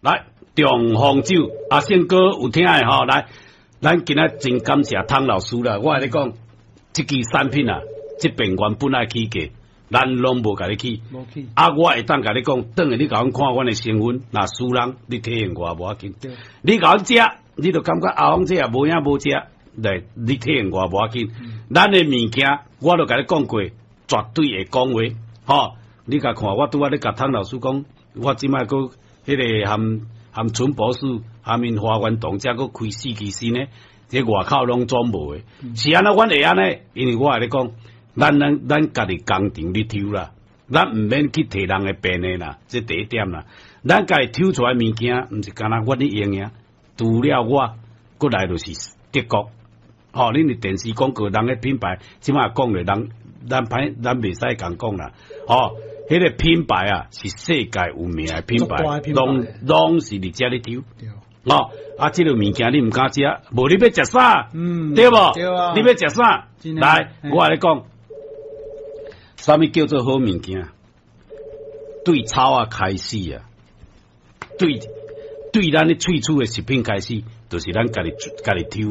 來，長風酒，阿勝哥有聽的吼，來，咱今仔真感謝湯老師啦。我共你講，這支產品啊，這邊原本愛起價，咱攏無共你起。無起。啊，我會當共你講，轉來你共阮看阮的成分，若輸人，你體驗我無要緊。你共阮食，你就感覺阿峰這也無影無食，來，你體驗我無要緊。咱的物件，我都共你講過，絕對會講話，吼。你共看，我拄仔咧共湯老師講，我這擺閣彼个含含陳博士、含𪜶華源堂遮閣開四期新的，這外口攏總無的。是按怎阮會按呢？因為我共你講，咱家己工廠咧抽啦，咱毋免去提人的便的啦，這第一點啦。咱家己抽出來物件，毋是干焦阮咧用爾，除了我，閣來就是德國。吼，恁佇電視廣告人的品牌，這擺講咧，人咱歹咱袂使共講啦。吼，彼个品牌啊，是世界有名的品牌，攏攏是佇遮咧抽。哦，啊，這个物件你毋敢食，無你欲食啥？對無？對啊。你欲食啥？來，我共你講，啥物叫做好物件？對草仔開始啊，對對，咱的喙齒的食品開始，就是咱家己家己抽。